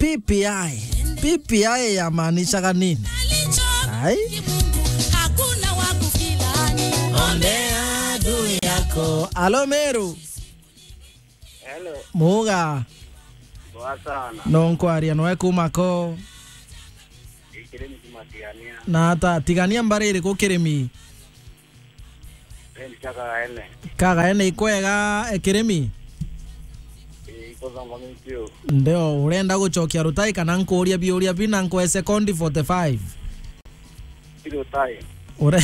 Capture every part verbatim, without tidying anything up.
P P I. P P I yamaanishaga nini? Ai? Hakuna wa kukilani. Ombea adui yako. Alo, Meru. Hello. Muga. Poa sana. No nkwaria noe kuma ko. Ikirimi kuma Tigania. Na ata Tigania mbari iriku Kirimi? Endi cha Kagaene. Kagaene ikwega, e, Kirimi? Ii, ikuthongomitio. Ndio, urenda gucokia Rutai kana nkuuria biuria bina nkwe sekondi forty-five? Ti Rutai. Ure-,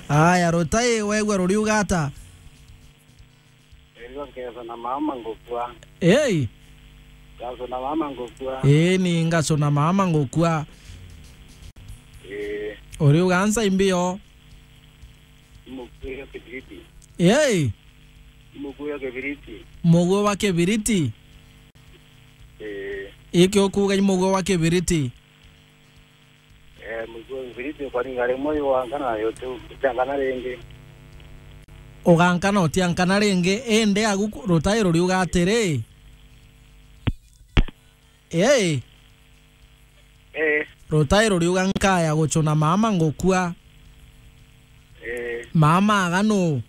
aya, Rutai wegua ruriuga ata? Erigwa ngeso na mama ngukua. Ei! Ngeso na mama ngukua. Ii, ni ngeso na mama ngukua. Ii. Uriuga nsa imbio? Mukuyo kibiriti. Ei! Mukuyo kibiriti. Muguo wa kibiriti? Ii. Iki ukuuga i muguo wa kibiriti? Eh, muguo kibiriti ukaringa rimwe ugankana na yote, utiankana ringi. Ugankana utiankana ringi, indi agu ku-, Rutai ruriuga atiri? Ii. Eh. Rutai ruriuga nkaya gucuna mama ngukua. Eh. Mama aga nu?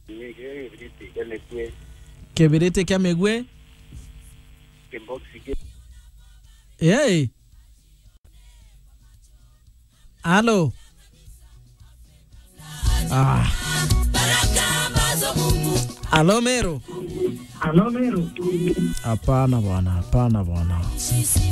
Ni kibiriti kia migue. Kibiriti kia migue? Kiboxi ki- Ii. Alo. Ah. Alo, Meru. Alo, Meru. Hapana bwana, hapana bwana.